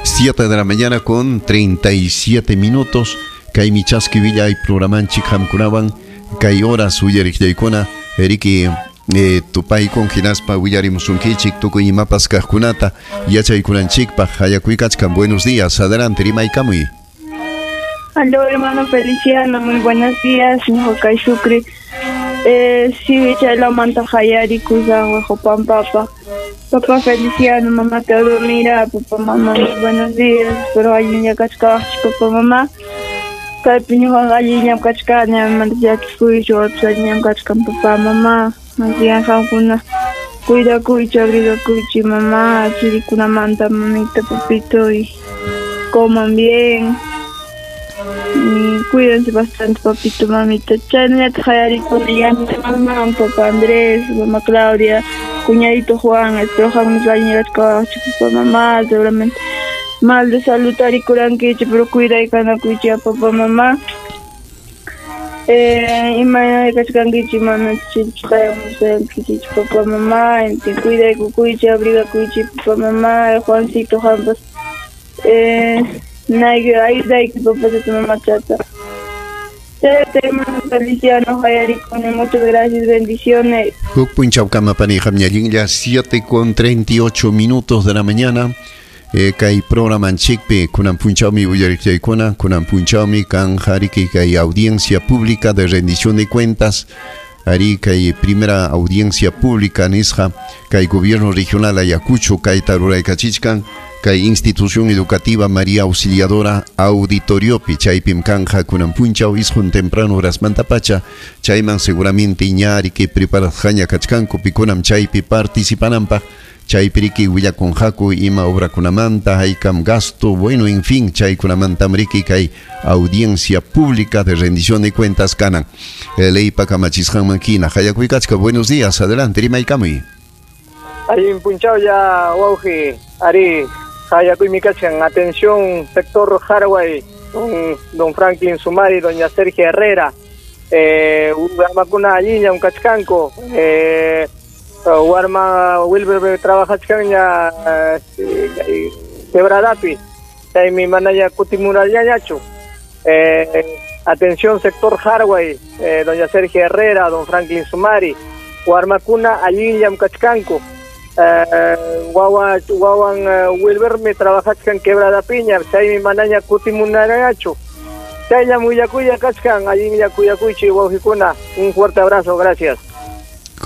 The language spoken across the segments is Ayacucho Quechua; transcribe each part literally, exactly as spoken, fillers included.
Siete de la mañana con treinta y siete minutos. Kaymi chaski willay programanchik hamkunawan kay horas uyariqllaykuna riki eh, tupaykun hinaspa willarimusunkichik tukuy imapas kaqkunata yachaykunanchikpaq. Hayakuykachkan. Buenos días, adelante, rimaykamuy. Aló, hermano Feliciano, muy buenos días, ñuqa Sucre. Eh, sí, chaylamanta hayarikusaq Huajupampapa. Papá Feliciano, mamá Teodomira, papá, mamá, muy buenos días. Espero allinlla kachkawaqchik, papá, mamá. Kaypi ñuqaqa allinllam kachkani, amamanta llakikuychu, wapas allinllam kachkan, papá, mamá. Más bien qamkuna cuidakuychi, abrigakuychi, mamá, chirikunamanta, mamita, papito, y coman bien. Y cuídense bastante, papito, mamita. Chaynallataq hayarikuni mamá, papá Andrés, mamá Claudia, cuñadito Juan. Espero qamkunas allinlla kachkawaqchik, papá, mamá. Seguramente mal de salud tarikurankichik, pero cuidaykanakuychik, papá, mamá. Eh, imayna kachkankichik, mana chilchqayamusqaykichik, papá, mamá. Cuidaykukuychik, abrigakuychik, papá, mamá. Juancito, qampas eh, nayki ayudayki, papacita, mamachata. Chayta, hermano Feliciano, hayarikuni, muchas gracias, bendiciones. Huk punchawkama pani qamñallinlla, siete con treinta y ocho minutos de la mañana. Eh, kay programanchikpi kunan punchawmi uyariqllaykuna, kunan punchawmi kan hariki kay audiencia pública de rendición de cuentas, ari kay primera audiencia pública nisqa kay gobierno regional Ayacucho kay taruraykachichkan kay institución educativa María Auxiliadora auditoriopi chaypim kanja kunan punchaw isqun temprano horasmantapacha chayman seguramente ñariki preparasqaña kachkanku pikunam chaypi participananpaq chaypiriki willakunqaku ima obrakunamanta haykam gasto, bueno, en fin, chaykunamantam riki kay audiencia pública de rendición de cuentas kanan. Leypa kamachisqanman hina. Hayakuykachka, buenos días, adelante, rimaykamuy. Allin punchaw ya, wawqi, ari, hayakuymi kachkan. Atención, sector Haraway, don, don Franklin Sumari, doña Sergio Herrera, eh, warmakuna allinllam kachkanku, eh, warma Wilber trabajachkanña eh, quebradapi, chaymi manaya kutimuralllañachu. Eh, atención, sector Haraway, eh, doña Sergio Herrera, don Franklin Sumari, warmakuna allinllam kachkanku. Eh, wawa wawan uh, Wilber me trabajachkan quebradapiña, chaymi manaña kutimunarañachu. Chaylla muyakuya kachkan, allinlla kuyakuychi wawqikuna. Un fuerte abrazo, gracias.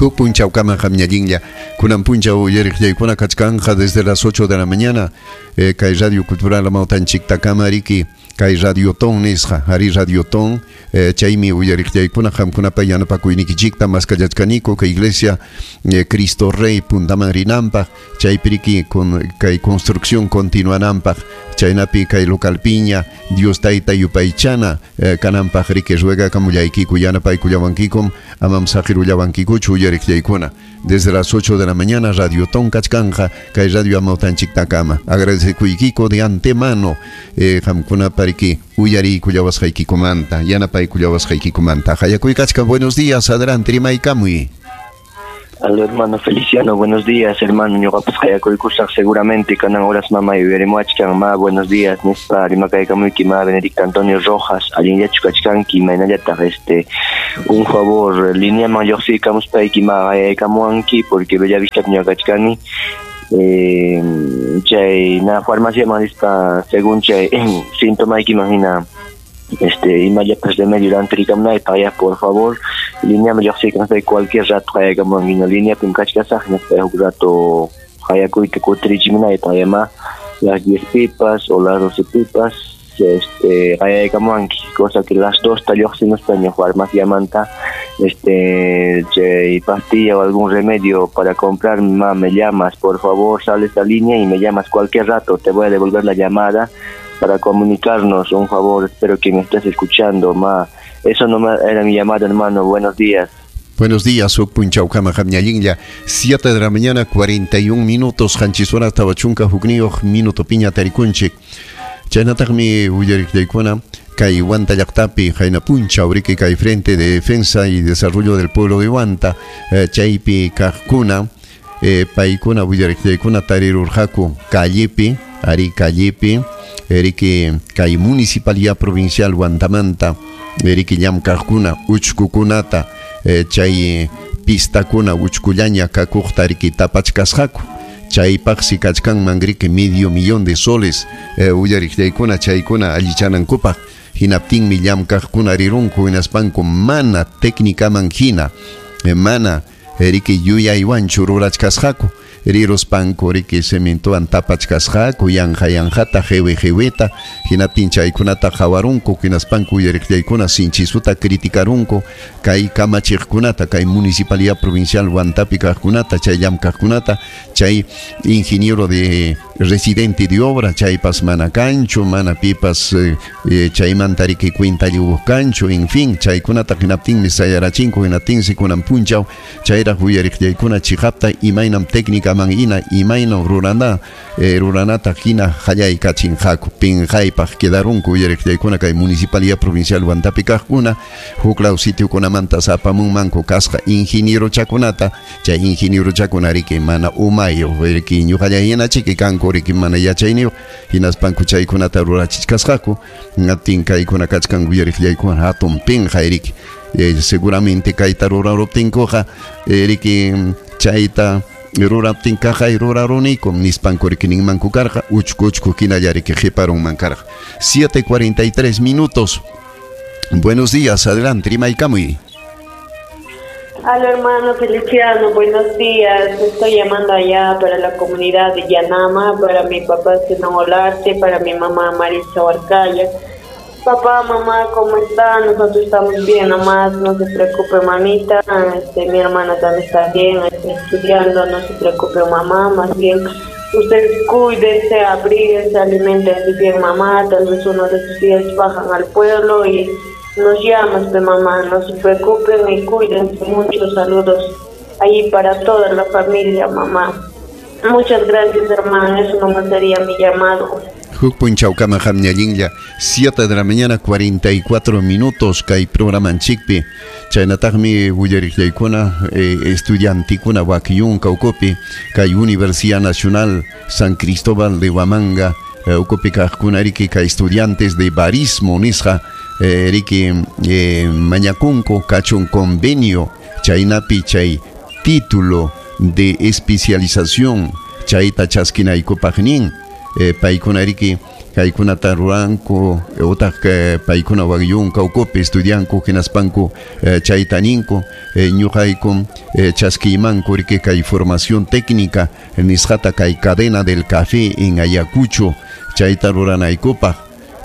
Huk punchawkama qamñallinlla kunan punchaw uyariqllaykuna kachkanja desde las ocho de la mañana eh, kay Radio Cultural Amawtanchiktakama riki kay Radiotón nisqa ari Radiotón eh, chaymi uyariqllaykuna qamkunapa yanapakuynikichikta maskallachkaniku kay iglesia eh, Cristo Rey puntaman rinanpaq chaypi riki con kay construcción continuananpaq chaynapi kay localpiña Dios tayta yupaychana eh, kananpaq riki ruegakamullaykiku yanapaykullawankikum amam saqirullawankikuchu uyariqllaykuna desde las ocho de la mañana Radiotón kachkanja kay Radio Amawtanchiktakama. Agradecekuykiko de antemano eh, qamkunapa riki uyariykullawasqaykikumanta yanapaykullawasqaykikumanta. Hayakuykachka, buenos días, adelante, rimaykamuy. Aló, hermano Feliciano, buenos días, hermano. Ñuqapas hayakuykusaq seguramente kanan horas mama yuyarimuachkan. Ma, buenos días, nispa rimakaykamuyki ma Benedicta Antonio Rojas, allinllachu kachkanki, maynallataq este un favor, lineaman lluqsiykamuspayki ma hayaykamuwanki porque Bellavista ñuqa kachkani. Eh, chay na farmaciaman rispa según chay sintomaykiman hina este imallapas remedio rantirikamunaypaq ya, por favor, lineaman lluqsiykamuspayki cualquier rato hayaykamuwanki, no lineapim kachkasaq hinaspa huk rato hayakuyta kutirichimunaypaq ya ma las diez pipas o las doce pipas este hayaykamuwanki, cosa que las dos ta lluqsimuspa ña farmaciamanta este chay pastilla o algún remedio para comprar, ma, me llamas, por favor, sales a línea y me llamas cualquier rato, te voy a devolver la llamada para comunicarnos, un favor, espero que me estés escuchando, ma. Eso no era mi llamada, hermano, buenos días. Buenos días, huk punchawkama qamñallinlla, siete de la mañana, cuarenta y un minutos, qanchis horas tawa chunka hukniyuq minuto piña tarikunchik. Chaynataqmi uyariqllaykuna kay Huanta llaqtapi qayna punchaw riki kay Frente de Defensa y Desarrollo del Pueblo de Huanta, eh, chaypi kaqkuna eh, paykuna willariqllaykuna tarirurqaku callepi ari callepi riki kay municipalidad provincial Huantamanta riki llamkaqkuna uchkukunata eh, chay pistakuna uchkullaña kakuqta riki tapachkasqaku chaypaqsi kachkanman riki medio millón de soles eh, uyariqllaykuna chaykuna allichanankupaq hinaptinmi llamkaqkuna rirunku hinaspanku mana técnicaman hina eh, mana riki yuyaywanchu rurachkasqaku riruspanku riki cementowan tapachkasqaku yanqa yanqata qiwi qiwita hinaptin chaykunata qhawarunku hinaspanku uyariqllaykuna sinchisuta criticarunku kay kamachiqkunata kay municipalidad provincial Huantapi kaqkunata chay llamkaqkunata chay ingeniero de residente de obra chaypas mana kanchu mana pipas eh, eh, chaymanta riki cuentalliwuq kanchu en fin chaykunata hinaptinmi sayarachinku hinaptinsi kunan punchaw chayraq uyariqllaykuna chiqapta imaynam técnica man ina imaynam rurana eh, ruranata hina hallaykachinqaku pinqaypaq quedarunku uyariqllaykuna kay municipalidad provincial Huantapi kaqkuna huklaw sitiokunamanta apamunmanku kasqa ingenierochakunata chay ingenierochakuna riki mana umayuq riki ñuqalla hinachiki kanku riki mana yachayniyuq hinaspanku chaykunata rurachichkasqaku hinaptin kaykuna kachkan uyariqllaykuna hatun pinqay riki eh, seguramente kayta ruraruptinkuqa eh, riki chayta ruraptin kaqay rurarunikum nispanku riki ninmanku karqa uchku uchku hinalla riki qiparunman karqa. siete cuarenta y tres minutos. Buenos días, adelante, rimaykamuy. Hola hermano Feliciano, buenos días. Estoy llamando allá para la comunidad de Yanama, para mi papá Zenón Olarte, para mi mamá Marisa Huarcaya. Papá, mamá, ¿cómo están? Nosotros estamos bien, nomás, no se preocupe mamita, este, mi hermana también está bien, está estudiando, no se preocupe mamá, más bien ustedes cuídense, abríguense, aliméntense bien mamá, tal vez uno de sus días bajan al pueblo y nos llamas de mamá, no se preocupen y cuídense mucho, saludos ahí para toda la familia, mamá. Muchas gracias, hermano, eso nomás sería mi llamado. Huk punchawkama qamñallinlla siete de la mañana cuarenta y cuatro minutos kay programanchikpi chaynataqmi willariqllaykuna eh, estudiantikuna Huaquiyunka ukupi kay Universidad Nacional San Cristóbal de Huamanga eh, ukupi kaqkuna riki kay estudiantes de barismo nisqa eh, riki eh, mañakunku kachun convenio chaynapi chay título de especialización chayta chaskinaykupaq nin Eh, paykuna riki kaykunata ruranku utaq eh, paykuna Huaquiyunka ukupi estudianku hinaspanku eh, chayta ninku eh, ñuqayku eh, chaskiymanku riki kay formación técnica nisqata kay cadena del café en Ayacucho chayta ruranaykupaq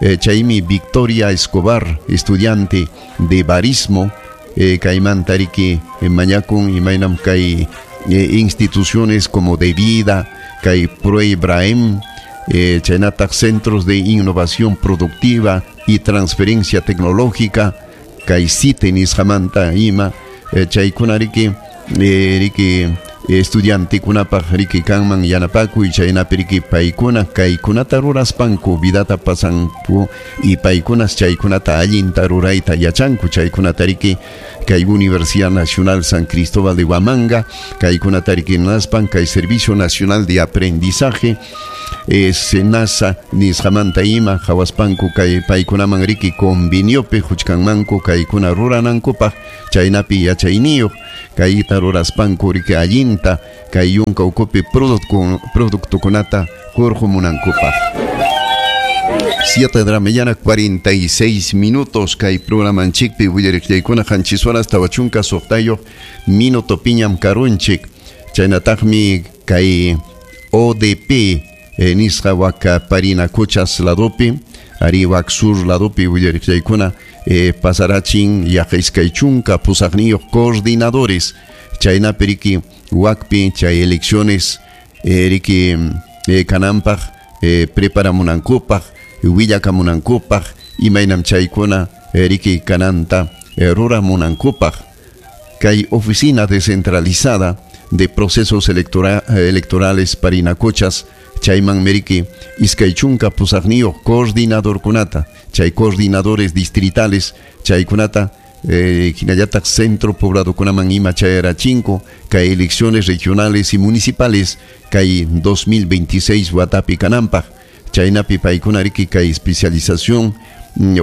eh, chaymi Victoria Escobar estudiante de barismo eh, kaymanta riki eh, mañakun imaynam kay eh, instituciones como de vida kay Pro Ibrahim Eh, chaynataq centros de innovación productiva y transferencia tecnológica kay CITE nisqamanta ima eh, chaykuna riki eh, riki estudiantikunapaq riki kanman yanapakuy chaynapi riki paykuna kaykunata ruraspanku vidata pasanku y paykunas chaykunata allinta rurayta yachanku chaykunata riki kay Universidad Nacional San Cristóbal de Huamanga kaykunata riki naspan kay Servicio Nacional de Aprendizaje eh, SENASA nisqamanta ima qhawaspanku kay paykunaman riki conveniopi huchkanmanku kaykuna ruranankupaq chaynapi yachayniyuq kayta ruraspanku riki allinta kay yunka ukupi productokunata hurqumunankupaq. siete de la mañana cuarenta y seis minutos kay programanchikpi willariqllaykuna qanchis horas tawa chunka suqtayuq minuto piñam karunchik chaynataqmi kay O D P eh, nisqa waka Parinacochas ladopi ari wak sur ladopi willariqllaykuna eh, pasarachin yaqa iskay chunka pusaqniyuq coordinadores chaynapi riki wakpi chay elecciones eh, riki eh, kananpaq eh, preparamunankupaq willakamunankupaq imaynam chaykuna eh, riki kananta eh, ruramunankupaq kay oficina descentralizada de procesos electora electorales Parinacochas chayman meriki iskay chunka pusaqniyuq coordinadorkunata chay coordinadores distritales chaykunata eh, hinallataq centro pobladokunaman ima chayarachinko kay elecciones regionales y municipales kay dos mil veintiséis watapi kananpaq chaynapi paykuna riki kay especialización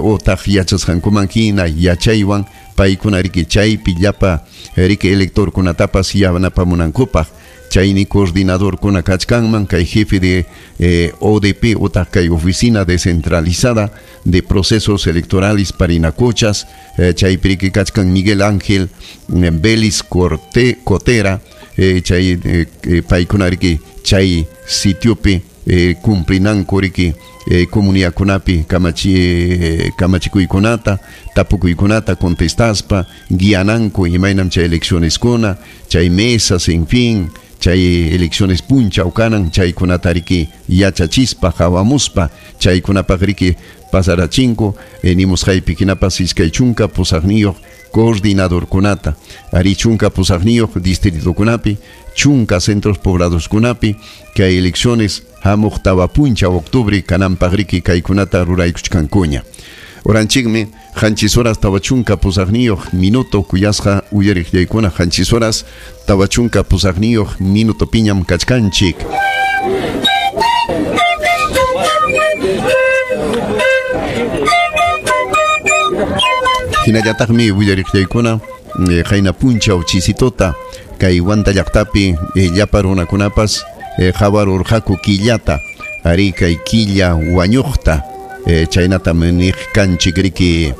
otaq yachasqankuman hina yachaywan paykuna riki chaypi llapa riki electorkunatapas yanapamunankupaq chayni coordinadorkuna kachkanman kay jefe de eh, O D P otaq kay oficina descentralizada de procesos electorales Parinacochas eh, chaypi riki kachkan Miguel Ángel eh, Vélez Corte, Cotera eh, chay eh, paykuna riki chay sitiopi eh, cumplinanku riki eh, comunidadkunapi kamachi eh, kamachikuykunata tapukuykunata contestaspa guiananku imaynam chay eleccioneskuna chay mesas en fin chay elecciones punchaw kanan chaykunata riki yachachispa hawamuspa chaykunapaq riki pasarachinku eh, nimusqaypi hinapas iskay chunka pusaqniyuq coordinadorkunata ari chunka pusaqniyuq distritokunapi chunka centros pobladoskunapi kay elecciones hamuq tawa punchaw octubre kananpaq riki kaykunata ruraykuchkankuña. Oranchikmi qanchis horas tawa chunka pusaqniyuq minuto kuyasqa uyariqllaykuna qanchis horas tawa chunka pusaqniyuq minuto piñam kachkanchik. Hinallataqmi uyariqllaykuna qayna punchaw chisitota kay Huanta llaqtapi llapa runakunapas hawarurqaku killata ari kay killa wañuqta chaynatam niq kanchik riki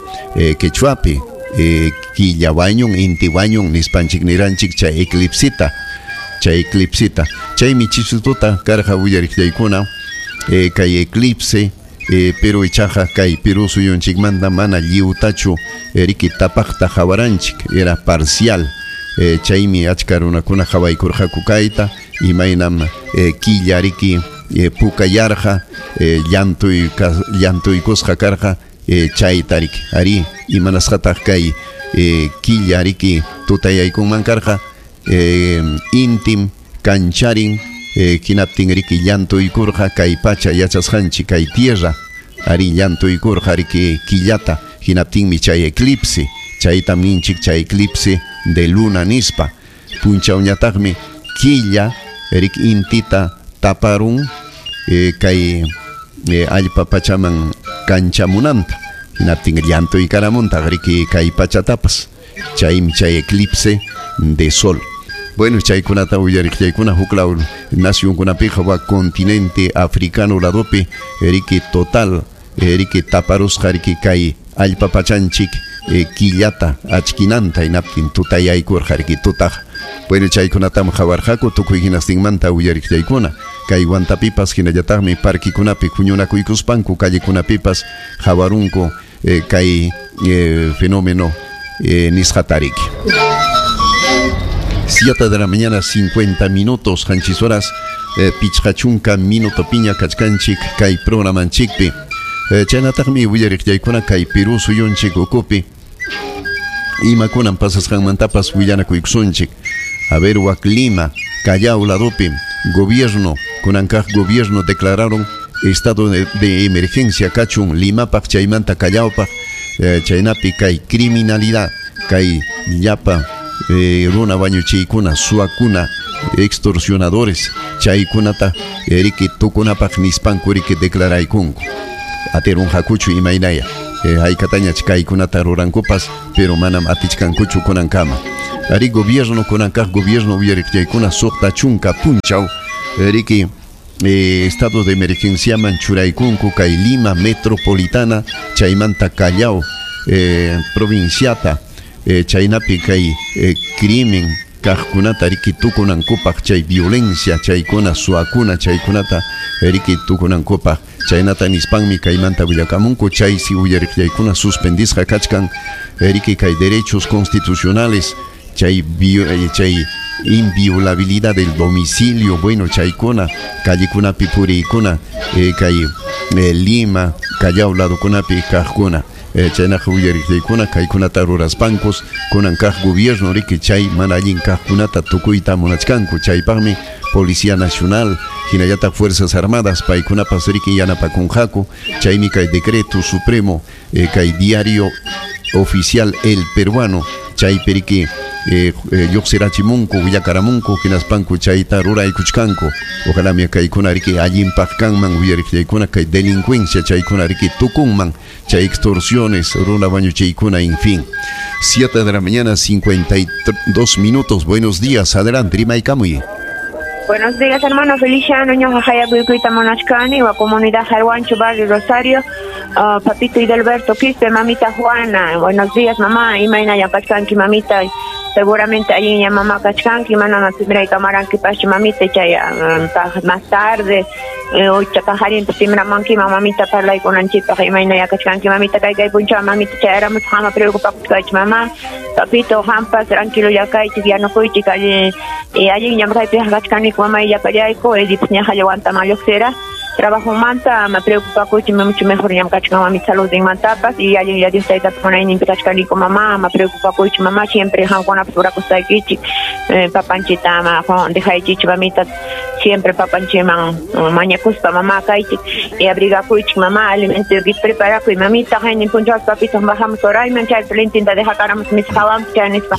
quechuapi killa wañun inti wañun nispanchik niranchik chay eclipsita chay eclipsita chaymi chisitota karqa uyariqllaykuna kay eclipse Eh, pero ichaqa kay Perú suyunchikmanta mana lliwtachu riki tapaqta hawaranchik era parcial eh, chaymi achka runakuna hawaykurqaku kayta imaynam eh, killa riki eh, pukayarqa eh, llantuy llantuykusqa karqa eh, chayta riki ari imanasqataq kay eh, killa riki tutayaykunman karqa eh, intim kancharin Eh, hinaptin riki llantuykurqa kay pacha yachasqanchik kay tierra ari llantuykurqa riki killata hinaptinmi chay eclipse chaytam ninchik chay eclipse de luna nispa punchawñataqmi killa riki intita taparun eh, kay eh, allpa pachaman kanchamunanta hinaptin llantuykaramutaq riki kay pachatapas chaymi chay eclipse de sol. Bueno, chaykunata uyariqllaykuna huklaw nacionkunapiqa wak continente africano ladopi riki total riki taparusqa riki kay allpa pachanchik eh, killata achkinanta hinaptin tutayaykurqa riki tutaq. Bueno, chaykunatam hawarqaku tukuy hinastinmanta uyariqllaykuna kay Huantapipas hinallataqmi parquikunapi huñunakuykuspanku callekunapipas hawarunku eh, kay eh, fenómeno eh, nisqata riki. Siete de la mañana, cincuenta minutos, qanchis horas, eh, pichqa chunka minuto piña kachkanchik kay programanchikpi. Eh, chaynataqmi willariqllaykuna kay Perú suyunchik ukupi imakunan pasasqanmantapas willanakuykusunchik. A ver, wak Lima, Callao ladopi, gobierno, kunankaq gobierno declararon estado de, de emergencia kachun Limapaq chaymanta Callaopaq, eh, chaynapi kay criminalidad, kay llapa Eh, runa wañuchiykuna suwakuna extorsionadores chaykunata riki tukunapaq nispanku riki declaraykunku atirunqakuchu imaynaya eh, haykatañach kaykunata rurankupas pero manam atichkankuchu kunankama ari gobierno kunankaq gobierno uyariqllaykuna suqta chunka punchaw riki eh, estado de emergenciaman churaykunku kay Lima metropolitana chaymanta Callao eh, provinciata Eh, chaynapi kay eh, crimen kaqkunata riki tukunankupaq chay violencia chaykuna suwakuna chaykunata riki tukunankupaq chaynata nispanmi kaymanta willakamunku chaysi uyariqllaykuna suspendisqa kachkan riki kay derechos constitucionales chay chay inviolabilidad del domicilio bueno chaykuna callekunapi puriykuna eh, kay eh, Lima Callao ladokunapi kaqkuna chaynaqa uyariqllaykuna kaykunata ruraspankos kunan kaq gobierno riki chay mana allin kaqkunata tukuyta munachkanku chaypaqmi Policía Nacional hinallataq Fuerzas Armadas paykunapas riki yanapakunqaku chaymi kay decreto supremo eh, kay diario oficial El Peruano chaypiriki eh, eh, lluqsirachimunku willakaramunku hinaspanku chayta ruraykuchkanku. Ojalá mi kaykuna riki allinpaq kanman uyariqllaykuna kay delincuencia chaykuna riki tukunman chay extorsiones runa wañuchiykuna, en fin. siete de la mañana, cincuenta y dos minutos. Buenos días, adelante, rimaykamuy. Buenos días, hermano Feliciano, ñuqa hayakuyta munachkani, wa comunidad Jarhuancho, barrio Rosario, uh, papito Hidalberto Quispe, mamita Juana. Buenos días, mamá, imayna llankachkanki, mamita. Seguramente allí ya mamá kachkanki, mana timray kamaranki pachi mamita, chay um, más tarde, eh, pajarin timramanki, mamita parlaykunanchikpaq, imayna yakachkanki, mamita, kay kay punchaw, mamita, chayaramus hama preocupakuchkaychik, mamá. Papito, hampas, tranquilo yakaychik, yanukuychik, allí, y allí ñamkaypi kachkaniku, mamá, llapallayku, edip ñajallawantaman lluqsira. Trabajo manta, me preocupa mucho mejor ñamkachkan mamita salud en mantapas y allí ya Dios tayta munayninpi kachkaniku, mamá, me preocupa mamá, siempre hankunapas urakusaykichik, eh, papanchita ama dejaychik mamita, siempre papanchiman mañakuspa mamá kaychik y abrigakuychik mamá, alimento preparakuy mamita, haynin punchaw papito bajamos orayman chaypi lintinta dejakaramos misqawanpi chay nispa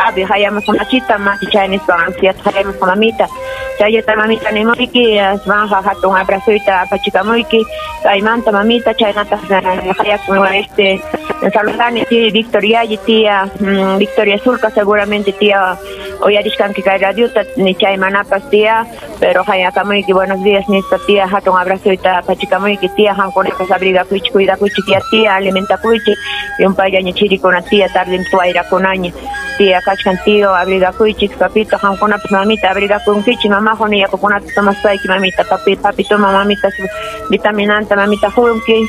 abi hayamos machita machi chay nispa ansiata hayamos mamita. Chayata mamita nimuyki, asmanja hatun abrazoyta apachikamuyki, kaymanta mamita, chaynata hayakun este saludani tía Victoria y tía mm, Victoria Zulca, seguramente tía uyarishkanki kay radiota ni chaymanapas tía, pero hayakamuyki buenos días nispa tía, hatun abrazoyta apachikamuyki tía, hankunapas abrigakuychik, cuidakuychik tía, tía alimentakuychik, yumpayllaña chirikuna tía, tarde wayrakunaña tía kachkan tío, abrigakuychik papito, hankunapas mamita abrigakunkichik mamá, joni yakukunata tomaspayki mamita, papi, papito mamita su vitaminanta mamita junki,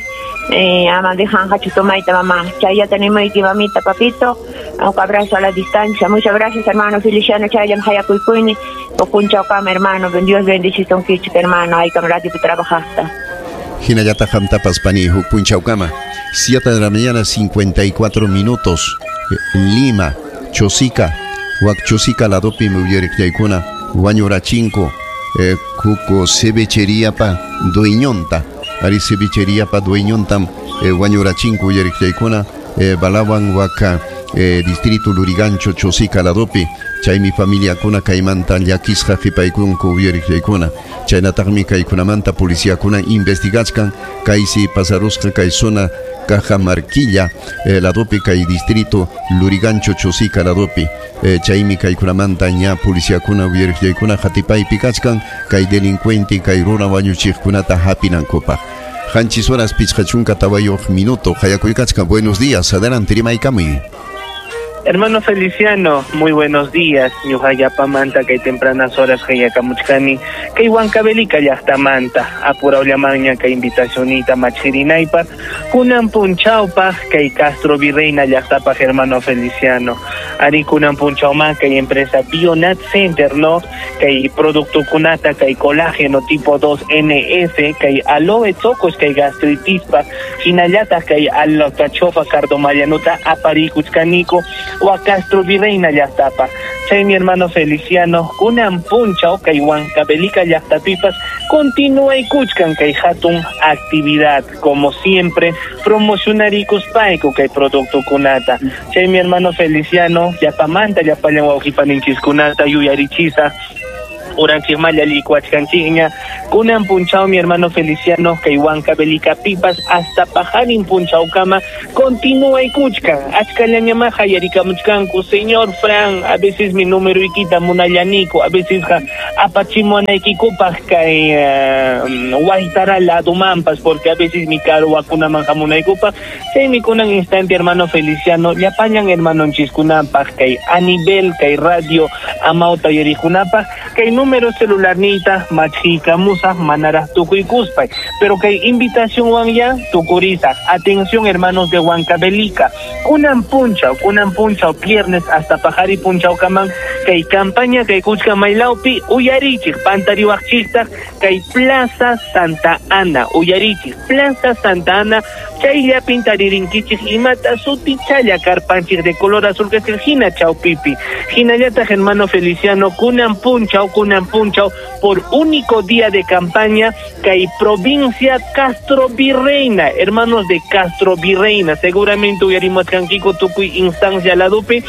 eh, ama dejan hachu tomayta mamá, chayata nimuyki mamita, papito, un abrazo a la distancia. Muchas gracias, hermano Feliciano, chayam hayakuykuyni, opunchawkama hermano, Dios bendicisunkichik hermano, aykam radiopi trabajasta. Hinallata hamtapas pani huk punchawkama. siete de la mañana, cincuenta y cuatro minutos. Lima, Chosica, wak Chosica ladopi uyariqllaykuna, wañurachinko, eh, kuko cevicheríapa dueñonta, ari cevicheríapa dueñontam eh, wañurachinko uyariqllaykuna, eh, balawan waka eh, distrito Lurigancho, Chosica ladopi, chaymi familiakuna kaymanta llakisqa qhipaykunku uyariqllaykuna, chaynataqmi kaykunamanta policíakuna investigachkan kaysi pasarusqa kay zona Cajamarquilla eh, ladopi kay distrito Lurigancho, Chosica ladopi, eh, chaymi kaykunamanta ña policíakuna uyariqllaykuna qatipaypi kachkan kay delincuente kay runa wañuchiqkunata hapinankupaq. Qanchis horas pichqa chunka tawayuq minuto hayakuykachkan. Buenos días, adelante, rimaykamuy. Hermano Feliciano, muy buenos días. Ñuqallapamanta kay tempranas horas hayakamuchkani kay Huancavelica llaqtamanta apurawllamanña kay invitacionita machirinaypaq kunan punchawpaq kay Castro Virreina llaqtapaq, hermano Feliciano. Ari kunan punchawman kay empresa Bionat Center, no, kay productokunata kay colágeno tipo dos N S kay aloe tocos kay gastritispa hinallataq kay alcachofa cardomallanuta aparikuchkaniko wa Castro Virreina llaqtapa. Chay mi hermano Feliciano, kunan punchaw kay Huancavelica llaqtapipas continuaykuchkan kay hatun actividad, como siempre promocionarikuspayku kay productokunata. Chay mi hermano Feliciano, llapamanta llapallan wawqipaninchikkunata yuyarichisaq uranchikmalla likuachkanchikña kunan punchaw mi hermano Feliciano kay Huancavelica pipas hasta pajarin punchawkama continuaykuchkan achkallañama hayarikamuchkanku señor Fran, a veces mi número ikita munallaniku, a veces apachimuanaykikupaq kay uh, waytara ladumanpas porque a veces mi karuwakunaman hamunaykupaq. Chaymi kunan instante, hermano Feliciano, llapallan hermanonchiskunapaq kay a nivel kay radio amawta uyariqkunapaq kay número celularniyta machikamusaq manaraq tukuykuspay, pero kay invitación ya tukurisaq. Atención, hermanos de Huancavelica, kunan punchaw kunan punchaw viernes hasta pajari punchawkaman Kay campaña kay kuchka maylawpi uyarichik pantariwaqchiktaq kay Plaza Santa Ana uyarichik Plaza Santa Ana chayllapin taririnkichik imata sutichalla karpanchik de color azul que es hina chawpipi hinallataq hermano Feliciano kunan punchaw kunan punchaw por único día de campaña kay provincia Castro Virreina, hermanos de Castro Virreina, seguramente uyarimachkankiku tukuy instancia ladupi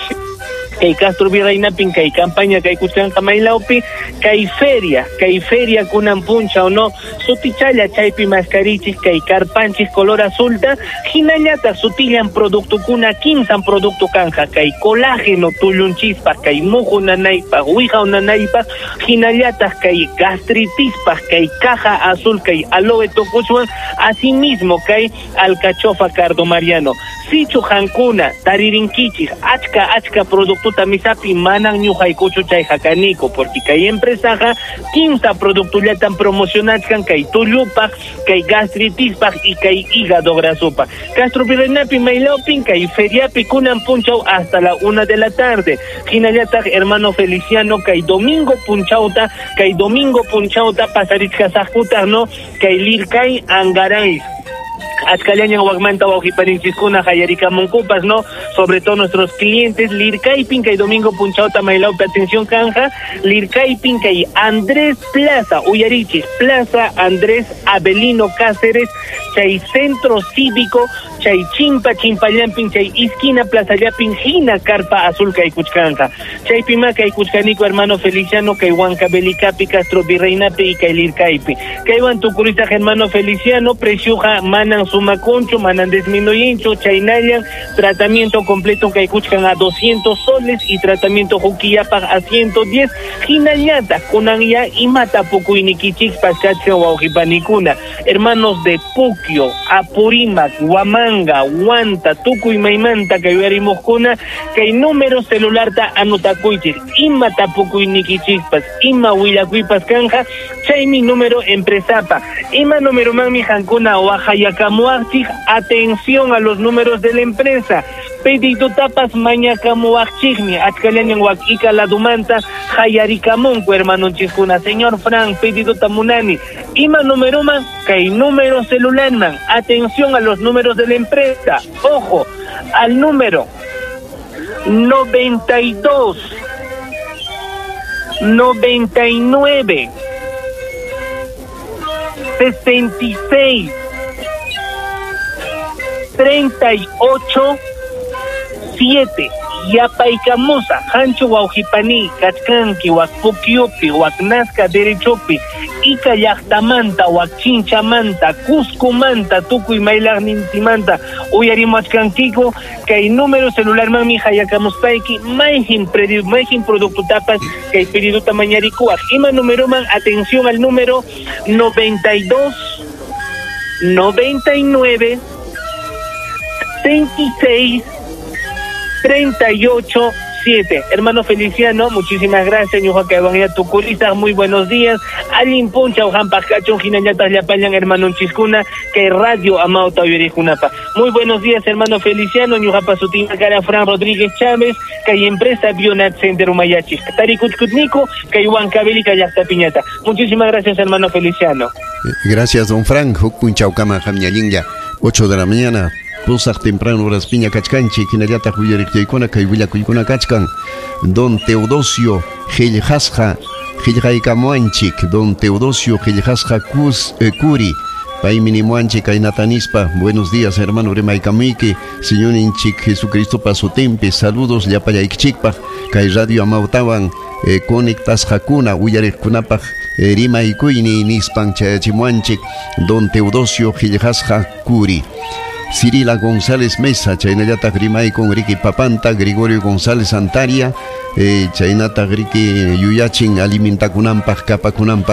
kay Castro Virreina kay campaña kay kuchanqa maylawpi kay feria kay feria kunan punchaw no sutichalla chaypi mascarichik kay karpanchik color azulta hinallataq sutillan productukuna kimsan producto kanja kay colágeno tullunchispaq kay muhu nanaypaq wiqaw nanaypaq hinallataq kay gastritispaq kay caja azul kay aloe tukuchwan asimismo kay alcachofa cardo mariano sichu hankuna taririnkichik achka achka producto misapi manan ñuqaykuchu chayqa kaniko porque kay empresaqa kimsa productollatan promocionachkan kay tullupaq kay gastritispaq y kay hígado grasopaq Castro Virreinapi maylawpin kay feriapi kunan punchaw hasta la una de la tarde hinallataq hermano Feliciano kay domingo punchawta kay domingo punchawta pasarichkasaqkutaq no kay Lircay Angaray achkallañan wakmanta wawqipaninchiskuna qallarikamunkupas no sobre todo nuestros clientes Lircaypin kay domingo punchawta maylawpi atención kanja Lircaypin kay Andrés Plaza uyarichis Plaza Andrés Avelino Cáceres chay centro cívico chay chimpa chimpallampin chay esquina plaza llapin hina carpa azul kay kuchkanja chaypima kay kuchkaniku hermano Feliciano kay Huancavelicapi Castro Virreinapi y kay Lircaypi kaywan tukurisaq hermano Feliciano preciuqa manan sumakunchu manan disminuyinchu chaynallan tratamiento completo kay kuchkan a doscientos soles y tratamiento hukillapaq a ciento diez hinallata kunan ya imata pukuynikichikpas kachkan wawqipanikuna hermanos de Puquio, Apurímac, Huamanga, Huanta, Tukuy maymanta kay uyarimuqkuna kay número celularta anotakuychik ima tapukuynikichikpas ima willakuypas kanja chaymi número empresapa ima número manmi hankuna waqayakamuwaqchik atención a los números de la empresa pedido tapas mañakamuwaqchikmi achkallañan wak ika ladumanta qallarikamunku hermanonchiskuna señor Frank pedido tamunani ima número man kay número celular man atención a los números de la empresa ojo al número noventa y dos noventa y nueve sesenta y seis treinta y ocho siete yapaykamusa hanchu wawqipani kachkanki wak Pukyupi wak Nazca derechopi Ica llaqtamanta wak Chinchamanta Cuscomanta tukuy maylaqnintimanta uyarimachkankiku kay número celular manmi hayakamuspayki mayjin mayjin productotapas kay pedidota mañarikuwaq ima número man atención al número noventa y dos noventa y nueve veintiséis treinta y ocho siete. Hermano Feliciano, muchísimas gracias. Ñuqa tukurisa, muy buenos días. Allin punchaw hampaq kachun hinallataq llapallan hermanonchiskuna kay radio Amauta uyarikunapa. Muy buenos días, hermano Feliciano. Ñuqapa sutinqa kara Fran Rodríguez Chávez, kay empresa Bionat Center umayachik. Tarikuchkutniku kay Huancavelica llaqta piñata. Muchísimas gracias, hermano Feliciano. Gracias, don Frank. Huk punchawkama hamñallinlla, ocho de la mañana. Pusaq temprano horas piña kachkanchik hinallataq uyariqchaykuna kay willakuykuna kachkan don Teodosio Qillqasqa qillqaykamuanchik don Teodosio Qillqasqa Cus eh, Curi paymi nimuanchik kaynatanispa buenos días hermano rimaykamuyki señorinchik Jesucristopa sutinpi saludos llapallaykichikpaq kay radio Amautawan eh, conectasqakuna uyariqkunapaq eh, rimaykuyni nispan chayachimuanchik don Teodosio Qillqasqa Curi. Cirila González Mesa, chaynallataq rimaykun riki papanta, Gregorio González Antaria, eh, chaynataq riki yuyachin alimentakunanpaq kapakunanpaq